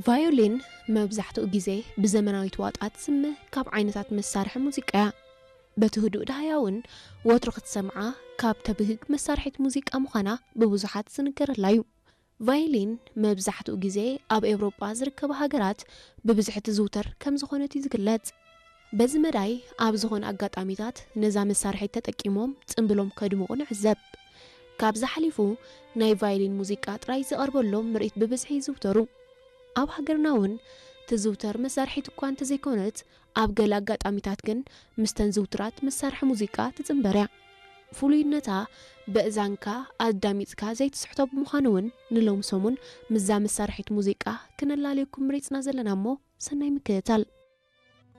ቫዮሊን መብዛሕትኡ ግዜ ብዘመናዊት ዋጣ ትስመ ካብ ዓይነታት መሳርሒ ሙዚቃ እያ። በቲ ህዱእ ደሃያ እውን ወትሩ ክትሰምዓ ካብ ተብህግ መሳርሒት ሙዚቃ ምዃና ብብዙሓት ዝንገረላ እዩ። ቫዮሊን መብዛሕትኡ ግዜ ኣብ ኤውሮጳ ዝርከባ ሃገራት ብብዝሒ ትዝውተር ከም ዝኾነት እዩ ዝግለጽ። በዚ መዳይ ኣብ ዝኾነ ኣጋጣሚታት ነዛ መሳርሒት ተጠቂሞም ጽምብሎም ከድምቑ ንዕዘብ። ካብዚ ሓሊፉ ናይ ቫዮሊን ሙዚቃ ጥራይ ዝቐርበሎም ምርኢት ብብዝሒ ይዝውተሩ። ኣብ ሃገርና እውን ትዝውተር መሳርሒት እኳ እንተዘይኮነት ኣብ ገለ ኣጋጣሚታት ግን ምስተን ዝውትራት መሳርሒ ሙዚቃ ትጽንበር እያ። ፍሉይነታ በእዛንካ ኣዳሚጽካ ዘይትስሕቶ ብምዃኑ እውን ንሎም ሰሙን ምዛ መሳርሒት ሙዚቃ ክነላለየኩም መሪጽና ዘለና እሞ ሰናይ ምክትታል።